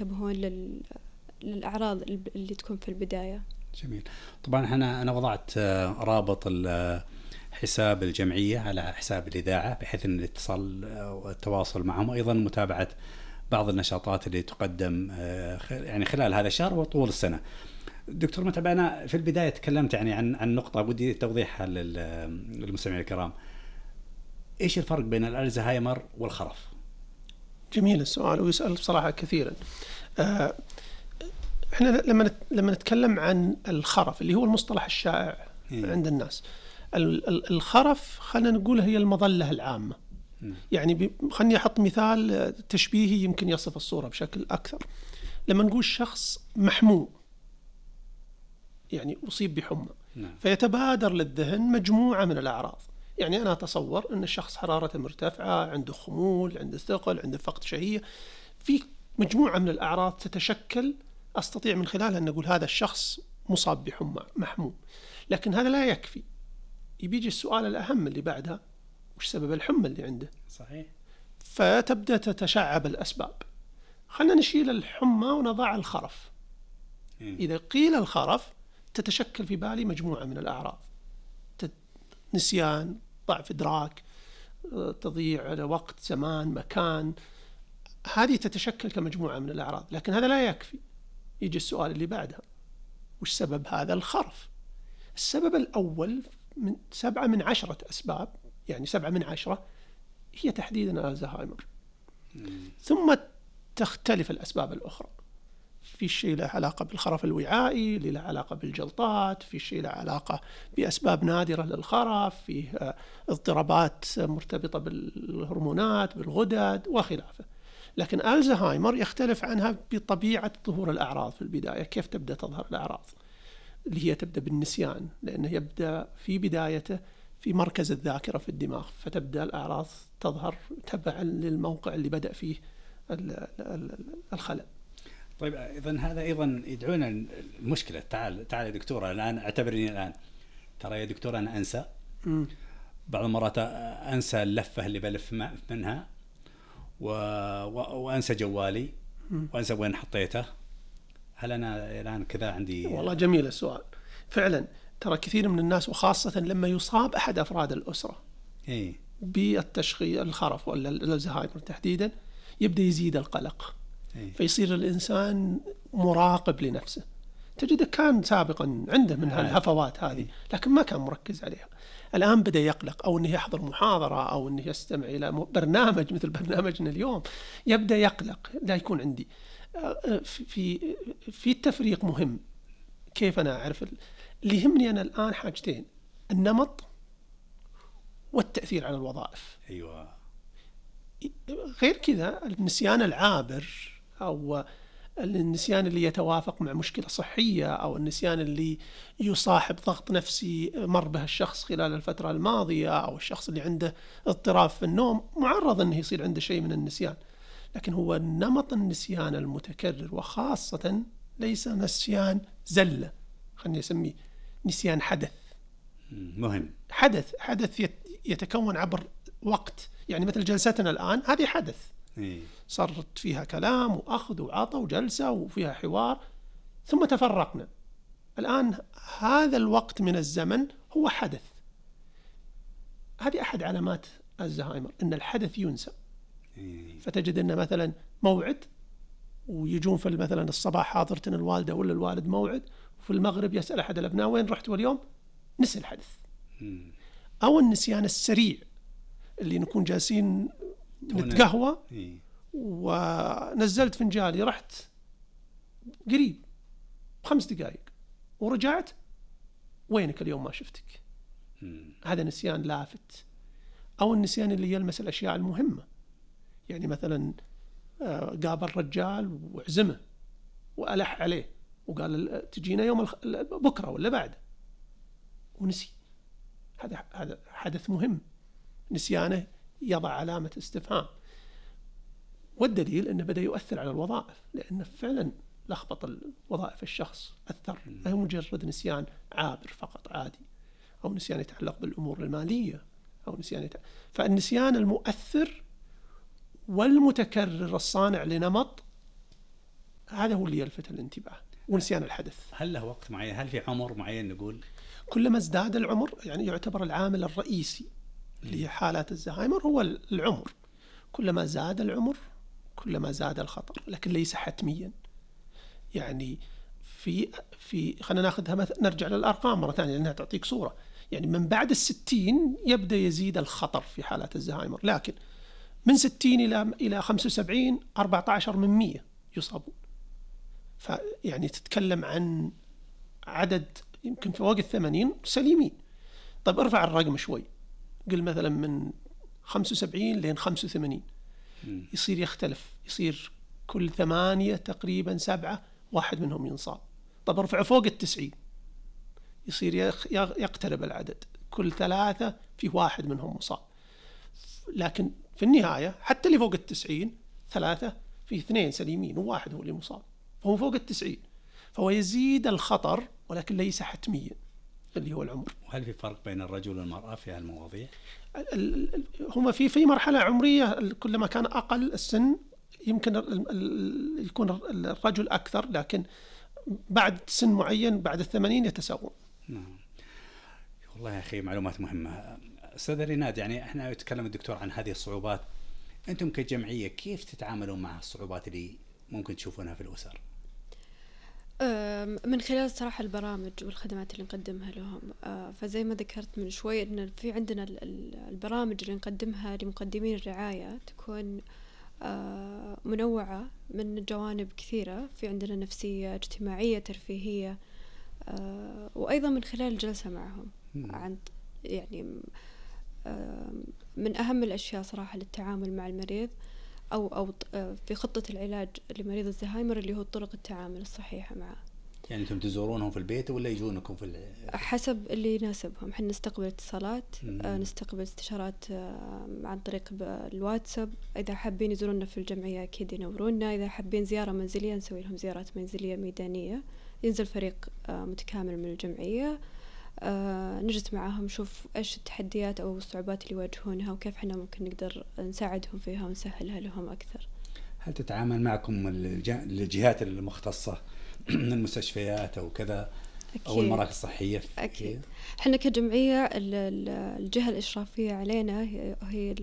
ينتبهون للأعراض اللي تكون في البداية. جميل. طبعا أنا وضعت رابط حساب الجمعية على حساب الإذاعة بحيث أن الاتصال والتواصل معهم، وأيضا متابعة بعض النشاطات اللي تقدم يعني خلال هذا الشهر وطول السنة. دكتور متعب، أنا في البداية تكلمت يعني عن نقطة بدي توضيحها للمستمعين الكرام. إيش الفرق بين الألزهايمر والخرف؟ جميل السؤال، ويسأل بصراحة كثيرا. احنا لما نتكلم عن الخرف اللي هو المصطلح الشائع عند الناس، الخرف خلينا نقول هي المظلة العامة. يعني خلني أحط مثال تشبيهي يمكن يصف الصورة بشكل أكثر. لما نقول شخص محموم، يعني أصيب بحمى، فيتبادر للذهن مجموعة من الأعراض. يعني أنا أتصور أن الشخص حرارته مرتفعة، عنده خمول، عنده ثقل، عنده فقد شهية، في مجموعة من الأعراض تتشكل أستطيع من خلالها أن نقول هذا الشخص مصاب بحمى محموم. لكن هذا لا يكفي، يبيجي السؤال الأهم اللي بعدها: وش سبب الحمى اللي عنده؟ صحيح. فتبدأ تتشعب الأسباب. خلنا نشيل الحمى ونضع الخرف. إذا قيل الخرف تتشكل في بالي مجموعة من الأعراض: نسيان، ضعف إدراك، تضييع وقت، زمان، مكان. هذه تتشكل كمجموعة من الأعراض. لكن هذا لا يكفي، يجي السؤال اللي بعدها: وش سبب هذا الخرف؟ السبب الأول من 7 من 10 أسباب، يعني 7 من 10 هي تحديدا الزهايمر. ثم تختلف الأسباب الأخرى. في شيء له علاقة بالخرف الوعائي، اللي له علاقة بالجلطات، في شيء له علاقة بأسباب نادرة للخرف، فيه اضطرابات مرتبطة بالهرمونات، بالغدد وخلافه. لكن الزهايمر يختلف عنها بطبيعة ظهور الأعراض في البداية. كيف تبدأ تظهر الأعراض؟ اللي هي تبدأ بالنسيان، لأنه يبدأ في بدايته في مركز الذاكرة في الدماغ، فتبدأ الأعراض تظهر تبعا للموقع اللي بدأ فيه الخلل. طيب إذن هذا أيضا يدعونا المشكلة. تعال يا دكتورة، الآن اعتبرني الآن، ترى يا دكتورة أنا أنسى بعض المرات، أنسى اللفة اللي بلف منها، وأنسى جوالي، وأنسى وين حطيته. هل أنا الآن كذا عندي؟ والله جميل السؤال. فعلا ترى كثير من الناس، وخاصة لما يصاب أحد أفراد الأسرة بالتشخيص الخرف ولا الزهايمر تحديدا، يبدأ يزيد القلق. فيصير الإنسان مراقب لنفسه. تجده كان سابقا عنده من الهفوات هذه، لكن ما كان مركز عليها. الآن بدأ يقلق، أو أنه يحضر محاضرة، أو أنه يستمع إلى برنامج مثل برنامجنا اليوم، يبدأ يقلق. لا يكون عندي في التفريق مهم. كيف أنا أعرف؟ اللي يهمني أنا الآن حاجتين: النمط والتأثير على الوظائف. أيوة. غير كذا النسيان العابر، أو النسيان اللي يتوافق مع مشكلة صحية، أو النسيان اللي يصاحب ضغط نفسي مر به الشخص خلال الفترة الماضية، أو الشخص اللي عنده اضطراب في النوم معرض أنه يصير عنده شيء من النسيان. لكن هو نمط النسيان المتكرر، وخاصة ليس نسيان زلة، خلني أسميه نسيان حدث. مهم. حدث يتكون عبر وقت. يعني مثل جلستنا الآن، هذه حدث صارت فيها كلام وأخذ وعطى وجلسة وفيها حوار، ثم تفرقنا. الآن هذا الوقت من الزمن هو حدث. هذه أحد علامات الزهايمر، أن الحدث ينسى. فتجد أن مثلا موعد، ويجون في مثلا الصباح حاضرتنا الوالدة ولا الوالد موعد، وفي المغرب يسأل أحد الأبناء وين رحت واليوم، نسي الحدث. أو النسيان السريع، اللي نكون جالسين نتقهوى ونزلت فنجالي، رحت قريب 5 دقائق ورجعت، وينك اليوم ما شفتك. هذا نسيان لافت. أو النسيان اللي يلمس الأشياء المهمة، يعني مثلا قابل رجال وعزمه وألح عليه وقال تجينا يوم بكرة ولا بعد، ونسي. هذا حدث مهم، نسيانه يضع علامة استفهام. والدليل أنه بدأ يؤثر على الوظائف، لأنه فعلا لخبط وظائف الشخص، أثر. لا مجرد نسيان عابر فقط عادي، أو نسيان يتعلق بالأمور المالية، أو نسيان فالنسيان المؤثر والمتكرر الصانع لنمط هذا هو اللي يلفت الانتباه، ونسيان الحدث. هل له وقت معين؟ هل في عمر معين نقول؟ كلما ازداد العمر، يعني يعتبر العامل الرئيسي لحالات الزهايمر هو العمر. كلما زاد العمر كلما زاد الخطر، لكن ليس حتميا. يعني في خلينا ناخذها نرجع للأرقام مرة ثانية لأنها تعطيك صورة. يعني من بعد 60 يبدأ يزيد الخطر في حالات الزهايمر، لكن من 60 إلى 75 14 من 100 يصابون. فيعني تتكلم عن عدد يمكن فوق 80 سليمين. طيب ارفع الرقم شوي، قل مثلا من 75 لين 85 يصير يختلف، يصير كل 8 تقريبا 7 واحد منهم ينصاب. طب ارفع فوق 90 يصير يقترب العدد، كل 3 في واحد منهم مصاب. لكن في النهاية حتى اللي فوق 90 3 في 2 سليمين وواحد هو اللي مصاب، فهو فوق 90. فهو يزيد الخطر ولكن ليس حتميا اللي هو العمر. وهل في فرق بين الرجل والمرأة في هالمواضيع؟ هما في مرحلة عمرية كلما كان أقل السن يمكن يكون الرجل أكثر، لكن بعد سن معين بعد 80 يتساوون. نعم. والله يا أخي معلومات مهمة. أستاذ ريناد، يعني إحنا يتكلم الدكتور عن هذه الصعوبات، أنتم كجمعية كيف تتعاملون مع الصعوبات اللي ممكن تشوفونها في الأسر؟ من خلال صراحة البرامج والخدمات اللي نقدمها لهم. فزي ما ذكرت من شوي إن في عندنا البرامج اللي نقدمها لمقدمين الرعاية تكون منوعة من جوانب كثيرة. في عندنا نفسية، اجتماعية، ترفيهية، وأيضا من خلال الجلسة معهم عن يعني من أهم الأشياء صراحة للتعامل مع المريض أو في خطة العلاج لمريض الزهايمر اللي هو طرق التعامل الصحيحة معه. يعني أنتم تزورونهم في البيت ولا يجونكم حسب اللي يناسبهم. حنا نستقبل اتصالات، نستقبل استشارات عن طريق الواتساب. إذا حابين يزورونا في الجمعية أكيد ينورونا. إذا حابين زيارة منزلية نسوي لهم زيارات منزلية ميدانية، ينزل فريق متكامل من الجمعية، نجلس معاهم نشوف إيش التحديات أو الصعوبات اللي يواجهونها وكيف حنا ممكن نقدر نساعدهم فيها ونسهلها لهم أكثر. هل تتعامل معكم الجهات المختصة من المستشفيات أو كذا أو المراكز الصحية؟ أكيد. حنا كجمعية الجهة الإشرافية علينا هي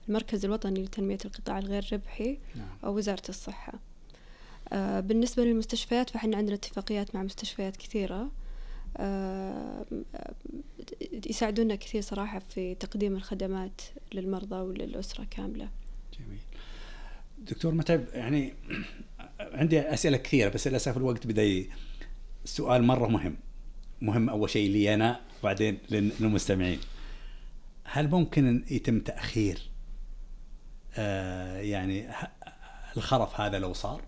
المركز الوطني لتنمية القطاع الغير ربحي أو وزارة الصحة. بالنسبة للمستشفيات فحنا عندنا اتفاقيات مع مستشفيات كثيرة يساعدونا كثير صراحة في تقديم الخدمات للمرضى وللأسرة كاملة. جميل. دكتور متعب، يعني عندي أسئلة كثيرة بس للأسف الوقت بدأ. السؤال مرة مهم أول شيء لي أنا وبعدين للمستمعين. هل ممكن يتم تأخير يعني الخرف هذا لو صار؟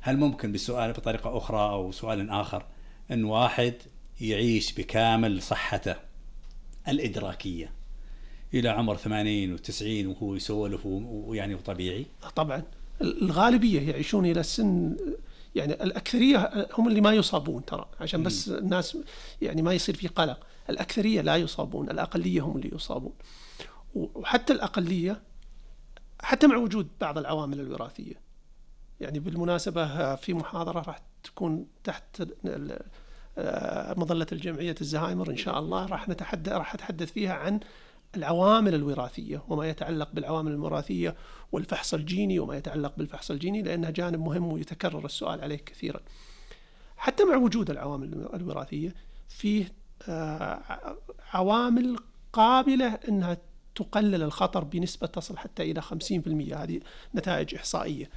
هل ممكن بالسؤال بطريقة أخرى أو سؤال آخر أن واحد يعيش بكامل صحته الإدراكية إلى عمر 80 و90 وهو يسولف ويعني طبيعي؟ طبعا الغالبية يعيشون إلى السن، يعني الأكثرية هم اللي ما يصابون ترى، عشان بس الناس يعني ما يصير في قلق. الأكثرية لا يصابون، الأقلية هم اللي يصابون. وحتى الأقلية حتى مع وجود بعض العوامل الوراثية. يعني بالمناسبة في محاضرة راح تكون تحت مظلة الجمعية الزهايمر إن شاء الله راح أتحدث فيها عن العوامل الوراثية وما يتعلق بالعوامل الوراثية والفحص الجيني وما يتعلق بالفحص الجيني، لأنها جانب مهم ويتكرر السؤال عليه كثيرا. حتى مع وجود العوامل الوراثية فيه عوامل قابلة أنها تقلل الخطر بنسبة تصل حتى إلى 50%. هذه نتائج إحصائية.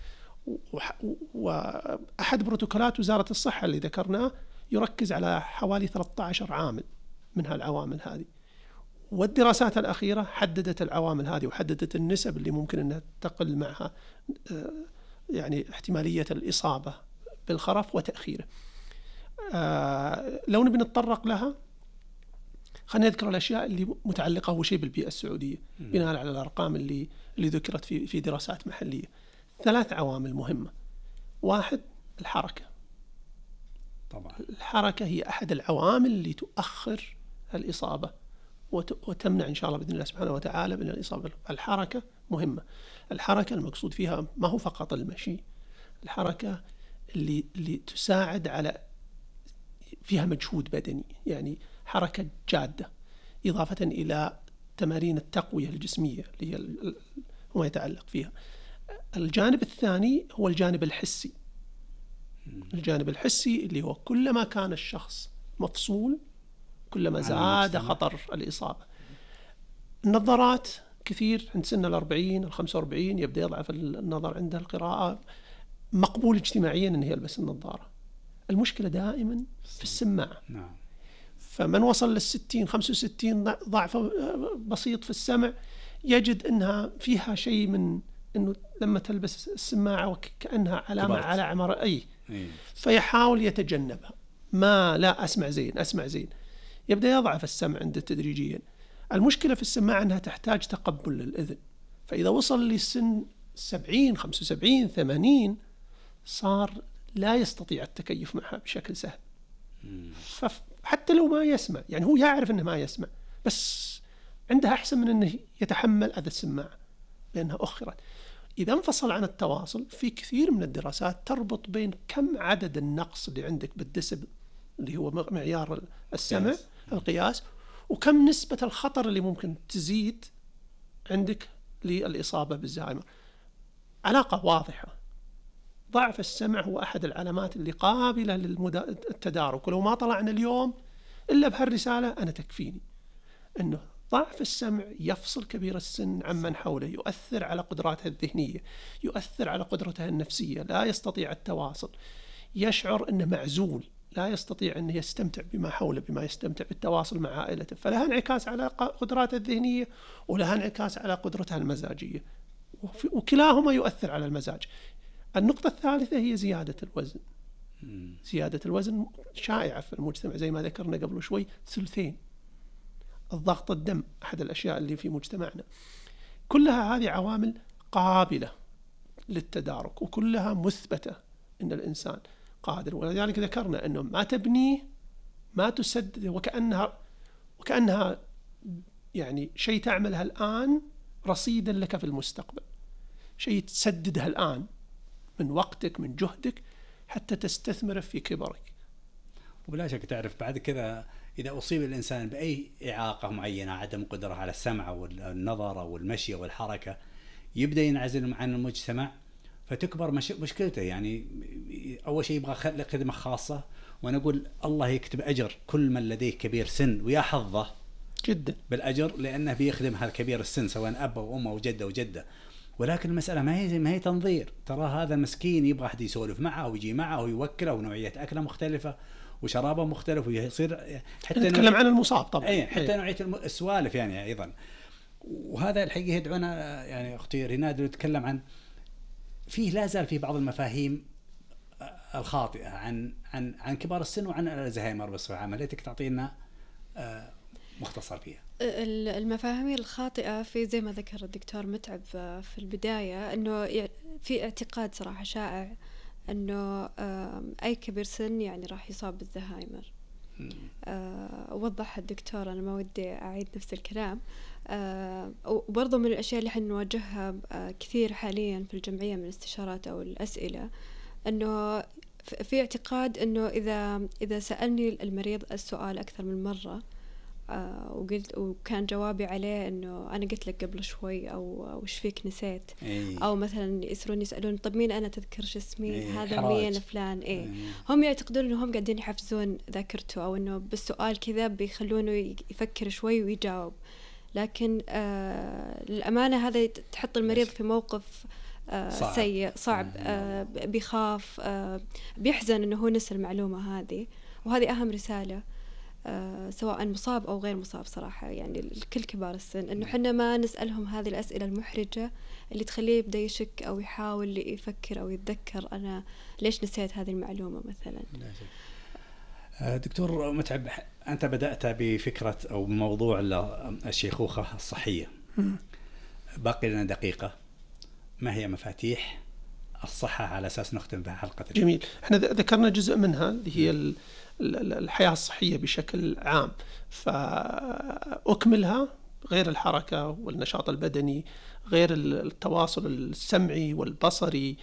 وأحد بروتوكولات وزارة الصحة اللي ذكرناه يركز على حوالي 13 عامل من هالعوامل هذه، والدراسات الأخيرة حددت العوامل هذه وحددت النسب اللي ممكن أنها تقل معها يعني احتمالية الإصابة بالخرف وتأخيره. لو نبي نتطرق لها خلينا نذكر الأشياء اللي متعلقة أول شيء بالبيئة السعودية بناء على الأرقام اللي ذكرت في دراسات محلية. 3 عوامل مهمة. 1 الحركة. طبعا الحركة هي أحد العوامل اللي تؤخر الإصابة وتمنع إن شاء الله بإذن الله سبحانه وتعالى من الإصابة. الحركة مهمة. الحركة المقصود فيها ما هو فقط المشي، الحركة اللي تساعد على فيها مجهود بدني، يعني حركة جادة، إضافة إلى تمارين التقوية الجسمية اللي هي ما يتعلق فيها. الجانب الثاني هو الجانب الحسي. الجانب الحسي اللي هو كلما كان الشخص مفصول كلما زاد خطر الإصابة. النظارات كثير عند سن 40 45 يبدأ يضعف النظر عند القراءة، مقبول اجتماعيا أن يلبس النظارة. المشكلة دائما في السماعة. فمن وصل لل60 65 ضعف بسيط في السمع يجد أنها فيها شيء من أنه لما تلبس السماعة وكأنها علامة كبرت على عمر فيحاول يتجنبها. لا أسمع زين يبدأ يضعف السمع عنده تدريجيا. المشكلة في السماعة أنها تحتاج تقبل للأذن، فإذا وصل لسن 70 75 80 صار لا يستطيع التكيف معها بشكل سهل. فحتى لو ما يسمع، يعني هو يعرف أنه ما يسمع، بس عندها أحسن من أنه يتحمل أذى السماعة لأنها أخرت. إذا انفصل عن التواصل، في كثير من الدراسات تربط بين كم عدد النقص اللي عندك بالديسبل اللي هو معيار السمع القياس، وكم نسبة الخطر اللي ممكن تزيد عندك للإصابة بالزهايمر. علاقة واضحة. ضعف السمع هو أحد العلامات اللي قابلة للتدارك، ولو ما طلعنا اليوم إلا بهالرسالة أنا تكفيني أنه ضعف السمع يفصل كبير السن عمن حوله، يؤثر على قدراتها الذهنية، يؤثر على قدرتها النفسية، لا يستطيع التواصل، يشعر أنه معزول، لا يستطيع أن يستمتع بما حوله، بما يستمتع بالتواصل مع عائلته. فلها انعكاس على قدراته الذهنية ولها انعكاس على قدرتها المزاجية، وكلاهما يؤثر على المزاج. النقطة الثالثة هي زيادة الوزن. زيادة الوزن شائعة في المجتمع زي ما ذكرنا قبل شوي. ثلثين الضغط الدم أحد الأشياء اللي في مجتمعنا. كلها هذه عوامل قابلة للتدارك، وكلها مثبتة أن الإنسان قادر. ولذلك ذكرنا أنه ما تبنيه ما تسدد، وكأنها يعني شيء تعملها الآن رصيدا لك في المستقبل، شيء تسددها الآن من وقتك من جهدك حتى تستثمره في كبرك. وبلا شك تعرف بعد كذا إذا أصيب الإنسان بأي إعاقة معينة، عدم قدرة على السمع والنظر أو المشي والحركة، يبدأ ينعزل عن المجتمع، فتكبر مشكلته. يعني أول شيء يبغى خدمة خاصة، وأنا أقول الله يكتب أجر كل من لديه كبير سن، ويا حظه جدا بالأجر لأنه بيخدم هذا كبير السن سواء أب أو أم أو جدة وجدة. ولكن المسألة ما هي تنظير. ترى هذا مسكين يبغى أحد يسولف معه ويجي معه ويوكله، ونوعية أكله مختلفة وشرابه مختلف، ويصير حتى نتكلم عن المصاب طبعا. حتى نوعية السوالف يعني أيضا. وهذا الحقيقة يدعونا يعني أختي ريناد نتكلم عن فيه لا زال في بعض المفاهيم الخاطئة عن كبار السن وعن الزهايمر بصفة عامة. ليتك تعطينا مختصر فيها. المفاهيم الخاطئة في زي ما ذكر الدكتور متعب في البداية، أنه في اعتقاد صراحة شائع أنه أي كبير سن يعني راح يصاب بالزهايمر. وضح الدكتور، أنا ما ودي أعيد نفس الكلام. وبرضو من الأشياء اللي حن نواجهها كثير حاليا في الجمعية من استشارات أو الأسئلة، أنه في اعتقاد أنه إذا سألني المريض السؤال أكثر من مرة وكان جوابي عليه أنه أنا قلت لك قبل شوي، أو وش فيك نسيت، أو مثلا يسألون طب مين أنا، تذكرش اسمي، هذا مين فلان. هم يعتقدون أنهم قاعدين يحفزون ذاكرته، أو أنه بالسؤال كذا بيخلونه يفكر شوي ويجاوب. لكن للأمانة هذا تحط المريض في موقف سيء صعب، بيخاف، بيحزن أنه هو نسى المعلومة هذه. وهذه أهم رسالة سواء مصاب أو غير مصاب صراحة، يعني لكل كبار السن، أنه حنا ما نسألهم هذه الأسئلة المحرجة اللي تخليه يبدأ يشك أو يحاول يفكر أو يتذكر أنا ليش نسيت هذه المعلومة مثلا. دكتور متعب، أنت بدأت بفكرة أو موضوع الشيخوخة الصحية. باقي لنا دقيقة. ما هي مفاتيح الصحة على أساس نختم بها حلقة؟ جميل. احنا ذكرنا جزء منها اللي هي الحياة الصحية بشكل عام، فأكملها غير الحركة والنشاط البدني، غير التواصل السمعي والبصري،